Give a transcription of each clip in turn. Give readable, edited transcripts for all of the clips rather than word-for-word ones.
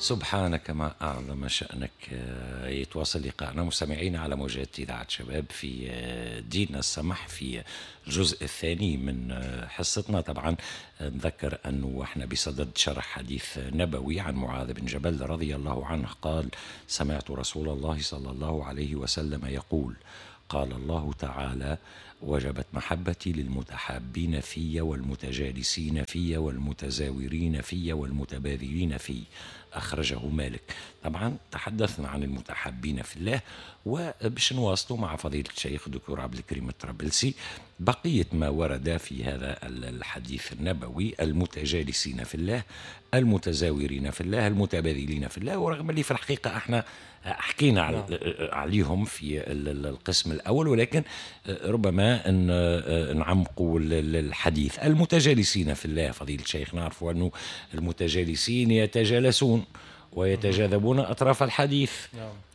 سبحانك ما أعظم شأنك. يتواصل لقاءنا مستمعين على موجات إذاعة شباب في ديننا السمح في الجزء الثاني من حصتنا. طبعا نذكر أنه احنا بصدد شرح حديث نبوي عن معاذ بن جبل رضي الله عنه قال: سمعت رسول الله صلى الله عليه وسلم يقول: قال الله تعالى: وجبت محبتي للمتحابين في والمتجالسين في والمتزاورين في والمتباذلين في. أخرجه مالك. طبعا تحدثنا عن المتحابين في الله، وباش نواصلوا مع فضيلة الشيخ الدكتور عبد الكريم الطرابلسي بقية ما ورد في هذا الحديث النبوي: المتجالسين في الله، المتزاورين في الله، المتباذلين في الله. ورغم اللي في الحقيقة احنا حكينا عليهم في القسم الأول، ولكن ربما نعمقوا الحديث. المتجالسين في الله، فضيلة الشيخ، نعرف أنه المتجالسين يتجالسون ويتجاذبون أطراف الحديث.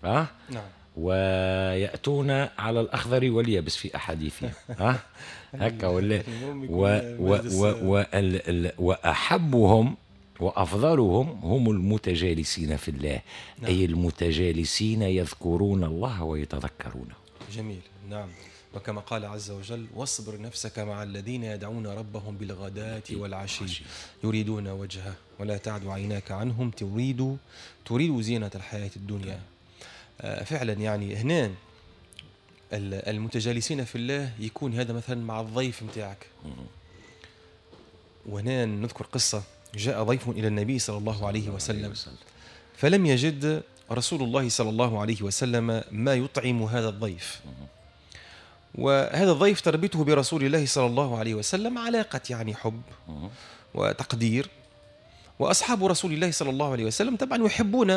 نعم. نعم. ويأتون على الأخضر واليابس في أحاديثهم. هكا ولا؟ وأحبهم وأفضلهم هم المتجالسين في الله. نعم. أي المتجالسين يذكرون الله ويتذكرونه. جميل. نعم. وكما قال عز وجل: واصبر نفسك مع الذين يدعون ربهم بالغداة والعشي يريدون وجهه ولا تعد عيناك عنهم تريد زينة الحياة الدنيا. فعلا يعني هنا المتجالسين في الله يكون هذا مثلا مع الضيف متاعك. وهنا نذكر قصة: جاء ضيف إلى النبي صلى الله عليه وسلم فلم يجد رسول الله صلى الله عليه وسلم ما يطعم هذا الضيف، وهذا الضيف تربطه برسول الله صلى الله عليه وسلم علاقة يعني حب وتقدير، وأصحاب رسول الله صلى الله عليه وسلم طبعا يحبون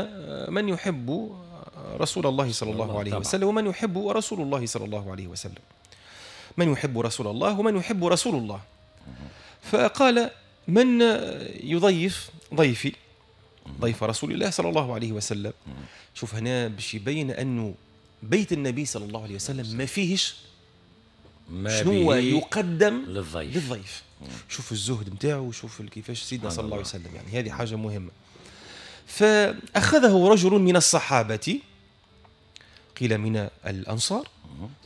من يحب رسول الله صلى الله عليه وسلم، ومن يحب رسول الله صلى الله عليه وسلم، من يحب رسول الله ومن يحب رسول الله. فقال: من يضيف ضيفي، ضيف رسول الله صلى الله عليه وسلم. شوف هنا باش يبين أنه بيت النبي صلى الله عليه وسلم ما فيهش ما شنو يقدم للضيف. شوف الزهد نتاعو وشوف كيفاش سيدنا صلى الله عليه وسلم، يعني هذه حاجة مهمة. فأخذه رجل من الصحابة، قيل من الأنصار،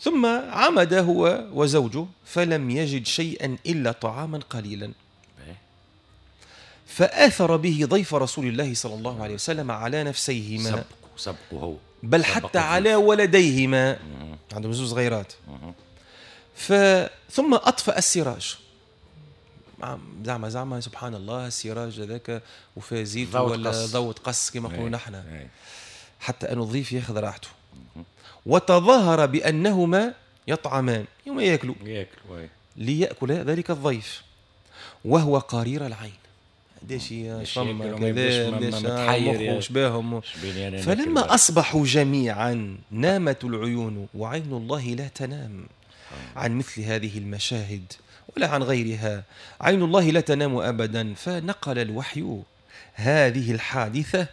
ثم عمد هو وزوجه فلم يجد شيئا إلا طعاما قليلا، فآثر به ضيف رسول الله صلى الله عليه وسلم على نفسيهما، سبقه بل حتى على ولديهما، عندهم زوج صغيرات. ثم أطفأ السراج، زعما سبحان الله السراج هذاك وفيه زيت ولا ضوء قص كما نقولوا نحن، حتى أن الضيف ياخذ راحته. وتظاهر بأنهما يطعمان، يوم ياكلوا ليأكل ذلك الضيف وهو قرير العين. قداش فما كذا قداش باهم. فلما أصبحوا جميعا نامت العيون، وعين الله لا تنام عن مثل هذه المشاهد ولا عن غيرها، عين الله لا تنام أبدا. فنقل الوحي هذه الحادثة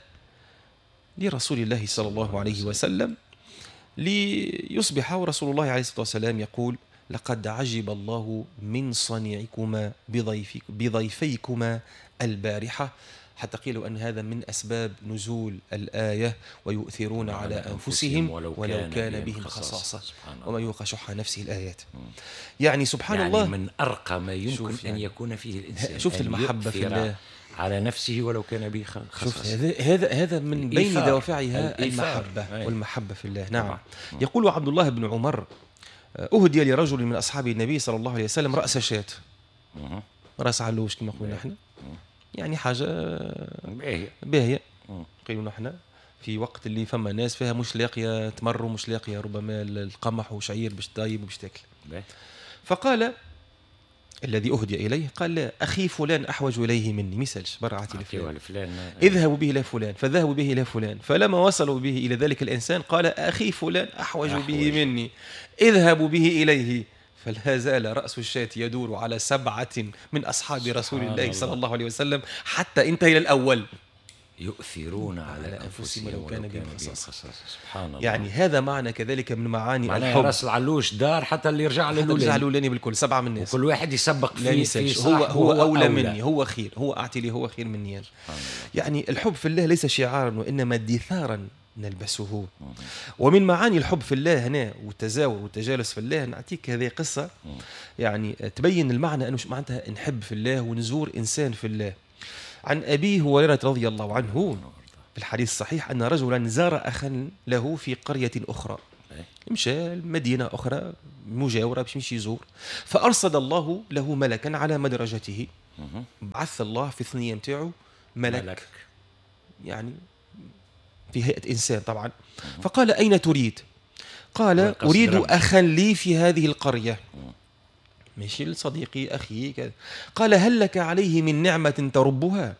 لرسول الله صلى الله عليه وسلم ليصبح رسول الله عليه الصلاة والسلام يقول: لقد عجب الله من صنيعكما بضيفيكما البارحة. حتى قيلوا أن هذا من أسباب نزول الآية: ويؤثرون على أنفسهم ولو كان بهم خصاصة وما يوق شح نفسه الآيات. يعني سبحان يعني الله، من أرقى ما يمكن أن يكون فيه الإنسان، شفت المحبة في الله على نفسه ولو كان به خصاصة. هذا من بين دوافعها المحبة، والمحبة في الله. نعم. يقول عبد الله بن عمر: أهدي لرجل من أصحاب النبي صلى الله عليه وسلم رأس شاة، رأس علوش كما قلنا نحن، يعني حاجة باهية. قيلوا نحن في وقت اللي فما ناس فيها مش لاقية تمر ومش لاقية ربما القمح وشعير باش طيب وباش تاكل. فقال الذي أهدي إليه، قال: لا، أخي فلان أحوج إليه مني، ما يسألش، برا عطي لفلان، اذهبوا به إلى فلان. فذهبوا به إلى فلان، فلما وصلوا به إلى ذلك الإنسان قال: أخي فلان أحوج به مني، اذهبوا به إليه. فلا زال رأس الشاة يدور على 7 من أصحاب رسول الله صلى الله عليه وسلم حتى انتهى إلى الأول. يؤثرون على أنفسهم ولو كان بهم خصاصة. سبحان الله. يعني هذا معنى كذلك من معاني الحب. راس العلوش دار حتى اللي يرجع للأولاني، يرجع للأولاني بالكل، 7 من الناس، وكل واحد يسبق فيه هو أولى مني، هو خير، هو أعطي لي، هو خير مني. يعني الحب في الله ليس شعارا وإنما دثارا نلبسه. ومن معاني الحب في الله هنا والتزاور والتجالس في الله، نعطيك هذه قصة يعني تبين المعنى أنه معناتها نحب في الله ونزور إنسان في الله. عن أبي هريرة رضي الله عنه في الحديث الصحيح أن رجلا زار أخا له في قرية أخرى، مشى لمدينة أخرى مجاورة باش يمشي يزور، فأرصد الله له ملكا على مدرجته. بعث الله في الثنية متاعه ملك يعني في هيئة إنسان طبعا. فقال أين تريد؟ قال أريد أخا لي في هذه القرية، ماشي لصديقي أخي كذا. قال هل لك عليه من نعمة تربها؟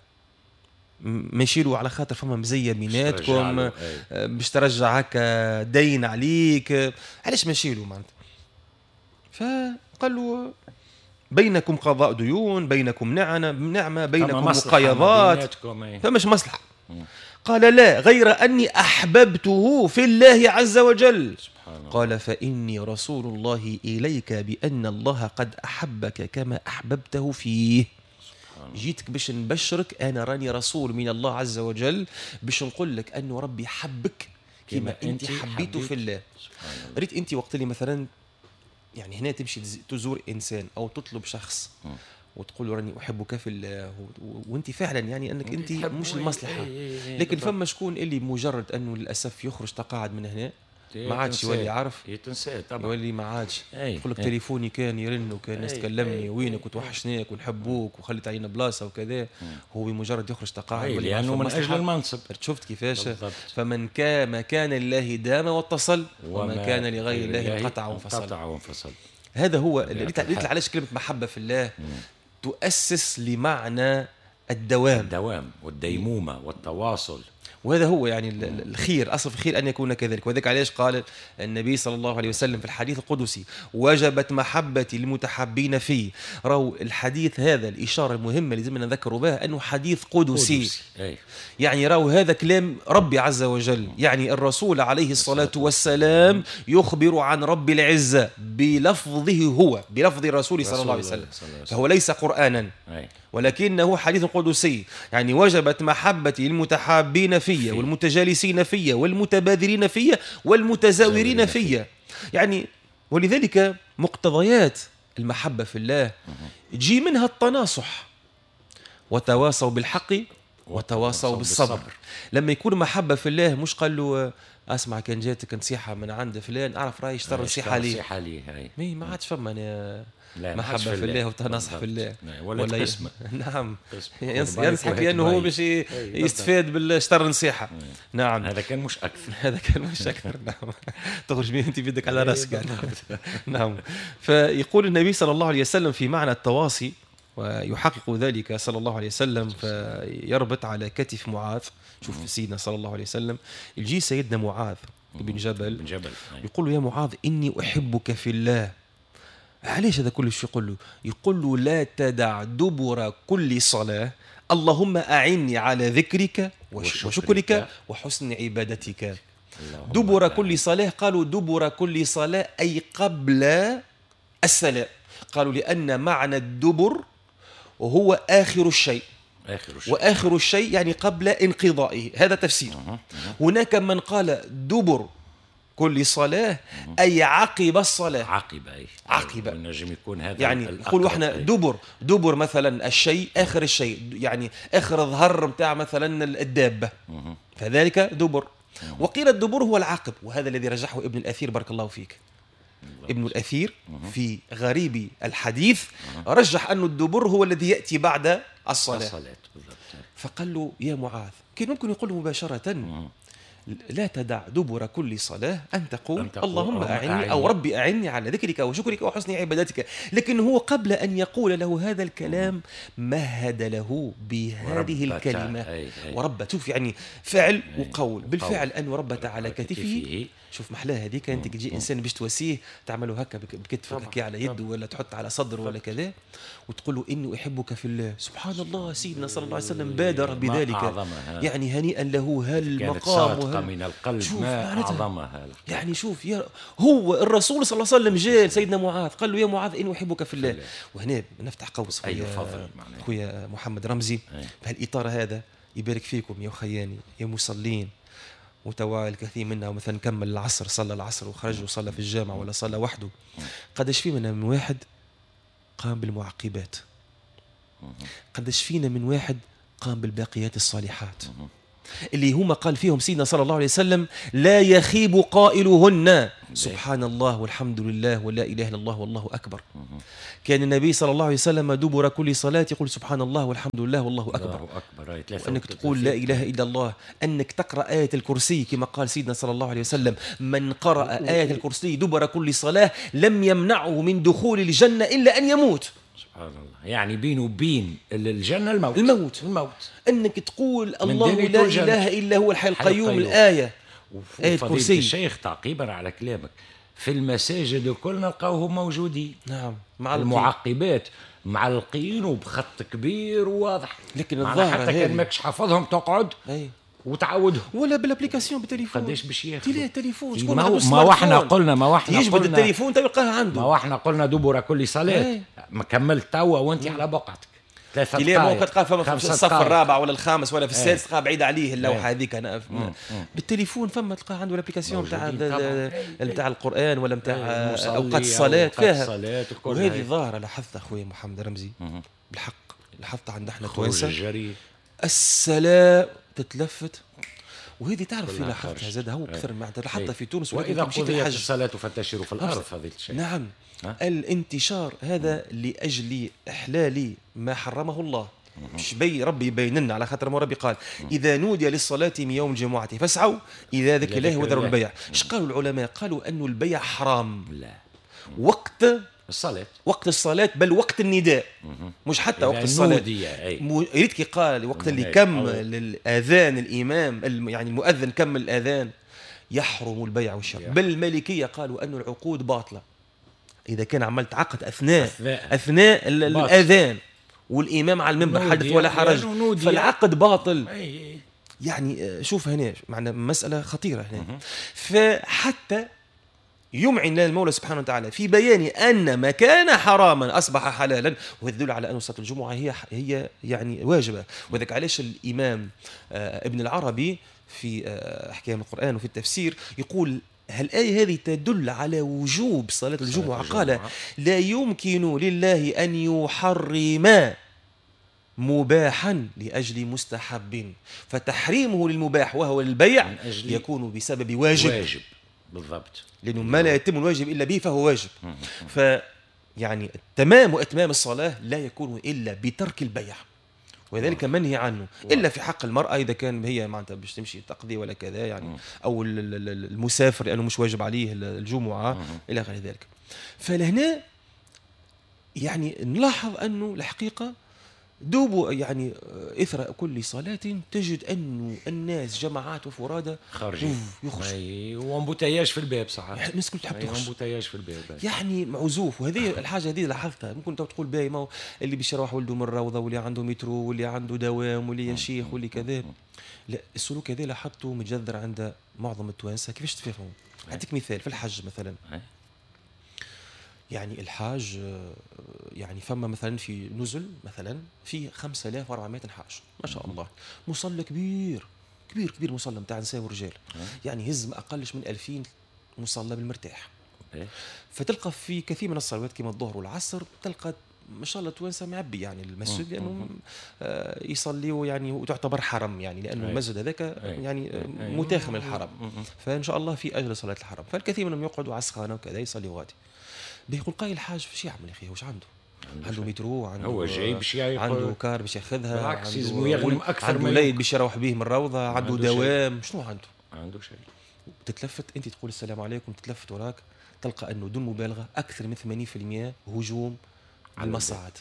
ماشي له على خاطر فما مزية بيناتكم باش ترجع هكا دين عليك، علاش ماشي له معناتها؟ فقال له بينكم قضاء ديون، بينكم نعمة، بينكم مقايضات، فمش مصلحة. قال لا، غير أني أحببته في الله عز وجل. قال فإني رسول الله إليك بأن الله قد أحبك كما أحببته فيه. جيتك باش نبشرك، أنا راني رسول من الله عز وجل باش نقول لك أنه ربي حبك كما أنت حبيته في الله. ريت أنت وقت اللي مثلا يعني هنا تمشي تزور إنسان أو تطلب شخص وتقول له راني أحبك في الله، وأنت فعلا يعني أنك أنت مش المصلحة، لكن فما شكون اللي مجرد أنه للأسف يخرج تقاعد من هنا ما عادش يولي عارف، يتنسى طبعا، يولي ما عادش يقول لك تليفوني كان يرن وكان الناس تكلمني وينك وتوحشناك ونحبوك وخليت علينا بلاصة وكذا. هو بمجرد يخرج تقاعد لانه من اجل المنصب. شفت كيفاش؟ فمن كان كان لله دام واتصل، وما كان لغير الله انقطع وانفصل. هذا هو اللي علاش كلمة محبة في الله تؤسس لمعنى الدوام والديمومه والتواصل، وهذا هو يعني الخير، أصل الخير أن يكون كذلك. وذلك علاش قال النبي صلى الله عليه وسلم في الحديث القدسي وجبت محبتي للمتحبين فيه. راهو الحديث هذا الإشارة المهمة اللي لازم نذكروا بها أنه حديث قدسي. يعني راهو هذا كلام ربي عز وجل، يعني الرسول عليه الصلاة والسلام يخبر عن رب العزة بلفظه هو، بلفظ الرسول صلى الله عليه وسلم، فهو ليس قرآنا ولكنه حديث قدسي. يعني وجبت محبتي للمتحابين فيا والمتجالسين فيا والمتبادرين فيا والمتزاورين فيا. يعني ولذلك مقتضيات المحبة في الله تجي منها التناصح، وتواصوا بالحق وتواصوا بالصبر. لما يكون محبة في الله مش قال له اسمع كان جاتك نصيحة من عند فلان اعرف راي اشترى نصيحة لي، ما عادش فما محبة في الله وتناصح في الله ولا قسمة. نعم، ينصحك لأنه هو باش يستفاد بالشطر نصيحة. نعم، هذا كان مش أكثر، هذا كان مش أكثر. نعم، تخرج بيه أنت بيدك على راسك يعني. نعم، فيقول النبي صلى الله عليه وسلم في معنى التواصي، ويحقق ذلك صلى الله عليه وسلم، فيربط على كتف معاذ. شوف سيدنا صلى الله عليه وسلم يجي سيدنا معاذ بن جبل يقول له يا معاذ إني أحبك في الله. علاش هذا كل شيء يقول له؟ يقول له لا تدع دبر كل صلاة، اللهم أعني على ذكرك وشكرك وحسن عبادتك. دبر كل صلاة، قالوا دبر كل صلاة أي قبل السلام. قالوا لأن معنى الدبر هو آخر الشيء، وآخر الشيء يعني قبل انقضائه، هذا تفسير. هناك من قال دبر كل صلاة أي عقب الصلاة، عقب عقب نجم يكون هذا يعني نقولوا احنا دبر مثلا الشيء آخر الشيء، يعني آخر الظهر متاع مثلا الدابة، فذلك دبر. وقيل الدبر هو العقب، وهذا الذي رجحه ابن الأثير بارك الله فيك. ابن الأثير في غريب الحديث رجح أن الدبر هو الذي يأتي بعد الصلاة. فقال له يا معاذ، كان ممكن يقول مباشرة لا تدع دبر كل صلاة أن تقول اللهم أعني أو ربي أعني على ذكرك وشكرك وحسن عبادتك. لكن هو قبل أن يقول له هذا الكلام مهد له بهذه الكلمة وربت. شوف يعني فعل وقول، بالفعل أن ربت على كتفه. شوف محلاها هذيك، أنت تجي إنسان باش تواسيه تعمله هكا بكتفك هكا على يده ولا تحط على صدره ولا كذا وتقول له إني أحبك في الله. سبحان الله، سيدنا صلى الله عليه وسلم بادر بذلك، يعني هنيئا له هالمقام من القلب ما أعظمها. يعني شوف يا هو الرسول صلى الله عليه وسلم جاء سيدنا معاذ قال له يا معاذ إني أحبك في الله. وهنا نفتح قوس خويا محمد رمزي في هالإطار هذا، يبارك فيكم يا خياني يا مصلين، وتوا الكثير منا مثلا كمل العصر، صلى العصر وخرج وصلى في الجامع ولا صلى وحده. قداش في منا من واحد قام بالمعقبات، قداش فينا من واحد قام بالباقيات الصالحات اللي هما قال فيهم سيدنا صلى الله عليه وسلم لا يخيب قائلهن، سبحان الله والحمد لله ولا إله إلا الله والله أكبر. كان النبي صلى الله عليه وسلم دبر كل صلاة يقول سبحان الله والحمد لله والله أكبر. وأنك تقول لا إله إلا الله، أنك تقرأ آية الكرسي كما قال سيدنا صلى الله عليه وسلم من قرأ آية الكرسي دبر كل صلاة لم يمنعه من دخول الجنة إلا أن يموت. سبحان الله، يعني بينه وبين الجنة الموت. الموت الموت. أنك تقول الله لا إله إلا هو الحي القيوم، الآية آية الكرسي. الشيخ تعقيبا على كلامك، في المساجد الكل نلقاوهم موجودين. نعم، مع المعقبات معلقين وبخط كبير وواضح، لكن الظاهر حتى كان ماكش حافظهم تقعد وتعودهم، ولا بال application بالتليفون. قداش باش ياخذ التليفون؟ ما احنا قلنا، ما احنا يجبد التليفون تلقاه عنده. ما احنا قلنا دبر كل صلاة، ما كملت توا وانت على بقعتك 3 دقائق ممكن تلقاه فما في الصف الرابع ولا الخامس ولا في السادس، تلقاه بعيد عليه اللوحة هذيك. انا بالتليفون فما تلقاه عنده ال application نتاع القران ولا نتاع اوقات الصلاة فيها. وهذه ظاهره لاحظتها اخويا محمد رمزي، بالحق لاحظتها عندنا احنا التوانسة، السلام تتلفت. وهذه تعرف في لاحظتها زاد هو اكثر معناتها لاحظتها في تونس. واذا قضيت الصلاة فانتشروا في الارض، فضيلة الشيخ. نعم، الانتشار هذا لاجل احلال ما حرمه الله. مش بي ربي يبين لنا، على خاطر ما ربي قال اذا نودي للصلاة من يوم الجمعة فاسعوا الى ذكر الله وذروا البيع. اش قالوا العلماء؟ قالوا انه البيع حرام لا وقت الصلاة، وقت الصلاة بل وقت النداء، مش حتى وقت الصلاة. يريد كي قال وقت اللي كمل الأذان الإمام، يعني المؤذن كمل الأذان يحرم البيع والشراء. بل المالكية قالوا أن العقود باطلة إذا كان عملت عقد أثناء الأذان والإمام على المنبر، حدث ولا حرج، فالعقد باطل. يعني شوف هنا معنا مسألة خطيرة هنا. فحتى يمعن لنا المولى سبحانه وتعالى في بيان أن ما كان حراما أصبح حلالا، وهذا يدل على أن صلاة الجمعة هي يعني واجبة. وذلك علاش الإمام ابن العربي في أحكام القرآن وفي التفسير يقول الآية هذه تدل على وجوب صلاة الجمعة. قال لا يمكن لله أن يحرم مباحا لأجل مستحب، فتحريمه للمباح وهو البيع يكون بسبب واجب. بالضبط، لأنه ما لا يتم الواجب إلا به فهو واجب. فيعني التمام وإتمام الصلاة لا يكون إلا بترك البيع، وذلك منهي عنه إلا في حق المرأة إذا كان هي معناتها باش تمشي تقضي ولا كذا يعني، أو المسافر لأنه مش واجب عليه الجمعة إلى غير ذلك. فلهنا يعني نلاحظ أنه الحقيقة دوبوا يعني إثر كل صلاة تجد أنه الناس جماعات وفرادى خارجين يخرجوا، و embouteillage في الباب صح، يعني الناس كل تحب تخرج، embouteillage في الباب يعني عزوف. وهذه الحاجة هذه لاحظتها، ممكن تقول باهي ما اللي باش يروح ولده من الروضة واللي عنده مترو واللي عنده دوام واللي يا شيخ واللي كذا. لا، السلوك هذا لاحظته متجذر عند معظم التوانسة. كيفاش تفهموا؟ أعطيك مثال في الحج مثلا. يعني الحاج يعني فما مثلا في نزل مثلا في 5400 حاج ما شاء الله، مصلى كبير كبير كبير، مصلى نتاع نساء ورجال، يعني هز ما اقلش من 2000 مصلى بالمرتاح. فتلقى في كثير من الصلوات كما الظهر والعصر تلقى ما شاء الله توانسة معبي يعني المسجد، لانه يصليوا يعني وتعتبر حرم يعني، لانه المسجد هذاك يعني متاخم الحرم، فان شاء الله في اجل صلاة الحرم، فالكثير منهم يقعدوا على السخانه وكذا يصليوا غادي. بيقول قايل الحاج فاش يعمل يا اخي؟ واش عنده؟ عنده مترو، عنده هو جاي باش عنده car باش ياخذها، بالعكس يلزم يغنم اكثر، عنده وليد باش يروح به من الروضة، عنده دوام، شنو عنده؟ ما عنده شيء. تتلفت انت تقول السلام عليكم، تتلفت وراك تلقى انه دون مبالغه اكثر من 80% هجوم على المصاعد،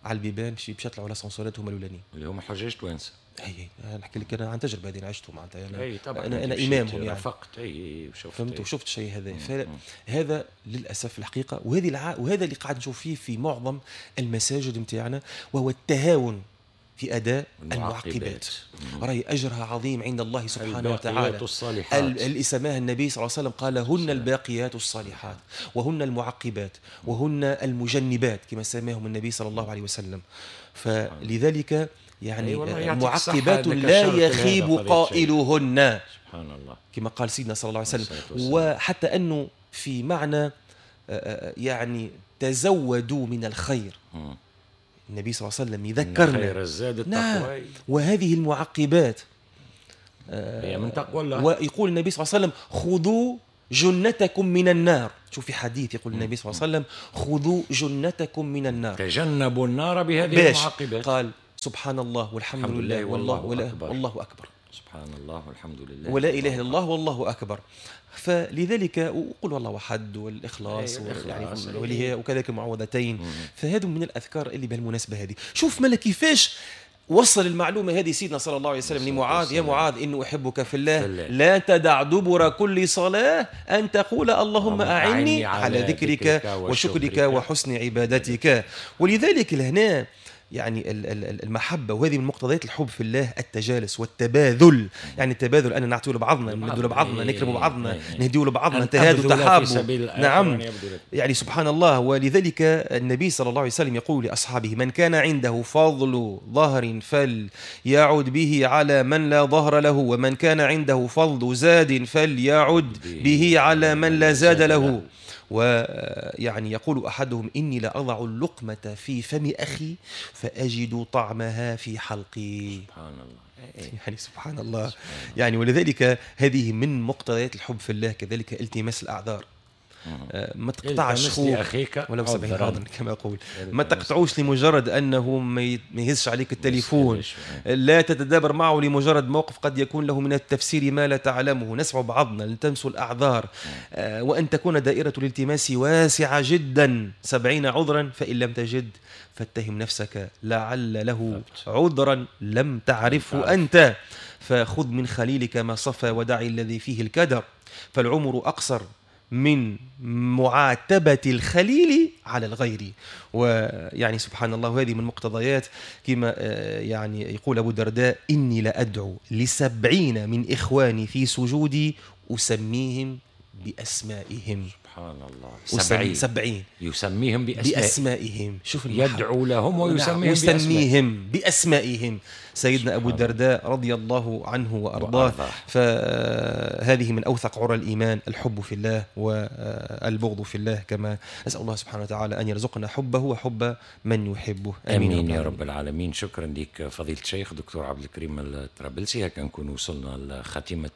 على البيبان باش يطلعوا l'ascenseur ات هما الاولانيين اللي هما حجاج توانسة. اي نحكي لك انا عن تجربه هذه عشته معناتها انا، أي طبعا انا امامهم يعني رافقت، اي وشفت، فهمت وشفت الشيء هذا. فهذا للاسف الحقيقة، وهذا اللي قاعد نشوف فيه في معظم المساجد نتاعنا، وهو التهاون في أداء المعقبات. رأي أجرها عظيم عند الله سبحانه وتعالى. اللي سماها النبي صلى الله عليه وسلم قال هن الباقيات الصالحات، وهن المعقبات، وهن المجنبات كما سماهم النبي صلى الله عليه وسلم. فلذلك يعني معقبات لا يخيب قائلهن، سبحان الله، كما قال سيدنا صلى الله عليه وسلم. وحتى أنه في معنى يعني تزودوا من الخير، النبي صلى الله عليه وسلم يذكرنا خير الزاد التقوى. وهذه المعقبات هي من تقوى الله. ويقول النبي صلى الله عليه وسلم خذوا جنتكم من النار. شوف في حديث يقول النبي صلى الله عليه وسلم خذوا جنتكم من النار، تجنبوا النار بهذه المعقبات. قال سبحان الله والحمد لله والله أكبر. والله أكبر، سبحان الله والحمد لله ولا إله إلا الله والله أكبر. فلذلك وقل والله أحد والإخلاص يعني وكذلك المعوذتين. فهذا من الأذكار اللي بالمناسبة هذه. شوف ملا كيفاش وصل المعلومة هذه سيدنا صلى الله عليه وسلم لمعاذ: يا معاذ إنه أحبك في الله، لا تدع دبر كل صلاة أن تقول اللهم أعني على ذكرك وشكرك وحسن عبادتك. ولذلك لهنا يعني المحبة، وهذه من مقتضيات الحب في الله التجالس والتباذل. يعني التباذل أن نعطيه لبعضنا، ندوا لبعضنا، نكرم بعضنا، نهديه لبعضنا، تهادوا تحابوا. نعم، يعني سبحان الله. ولذلك النبي صلى الله عليه وسلم يقول لأصحابه: من كان عنده فضل ظهر فليعد به على من لا ظهر له، ومن كان عنده فضل زاد فليعد به على من لا زاد له. ويعني يقول أحدهم: إني لأضع اللقمة في فم أخي فأجد طعمها في حلقي. سبحان الله، يعني سبحان الله. يعني ولذلك هذه من مقتضيات الحب في الله. كذلك التماس الأعذار، ما تقطعش خوك ولو 70 عذرا كما يقول، ما تقطعوش لمجرد أنه ما يهزش عليك التليفون، لا تتدابر معه لمجرد موقف قد يكون له من التفسير ما لا تعلمه. نسمع بعضنا، التمسوا الأعذار، وأن تكون دائرة الالتماس واسعة جدا، 70 عذرا، فإن لم تجد فاتهم نفسك لعل له عذرا لم تعرفه أنت. فخذ من خليلك ما صفى ودع الذي فيه الكدر، فالعمر أقصر من معاتبة الخليل على الغير. ويعني سبحان الله، هذه من مقتضيات كما يعني يقول أبو الدرداء: إني لأدعو ل70 من إخواني في سجودي أسميهم بأسمائهم. سبحان الله، 70 يسميهم بأسمائهم. شوف، يدعو لهم ويسميهم بأسمائهم. سيدنا أبو الدرداء رضي الله عنه وأرضاه. فهذه من أوثق عرى الإيمان، الحب في الله والبغض في الله، كما نسأل الله سبحانه وتعالى أن يرزقنا حبه وحب من يحبه. آمين, آمين يا رب العالمين. شكرا لك فضيلة الشيخ دكتور عبد الكريم الطرابلسي. هكا نكون وصلنا لخاتمة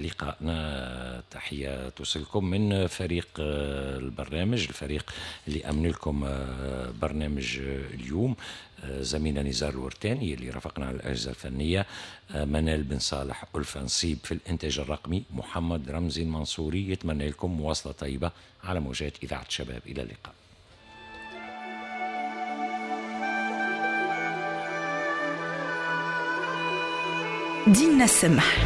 لقائنا. تحية توصلكم من فريق البرنامج، الفريق اللي أمن لكم برنامج اليوم، زميلنا نزار الورتاني اللي رافقنا على الأجهزة الفنية، منال بن صالح ألفة نصيب في الإنتاج الرقمي، محمد رمزي المنصوري. يتمنى لكم مواصلة طيبة على موجات إذاعة شباب. إلى اللقاء. ديننا السمح.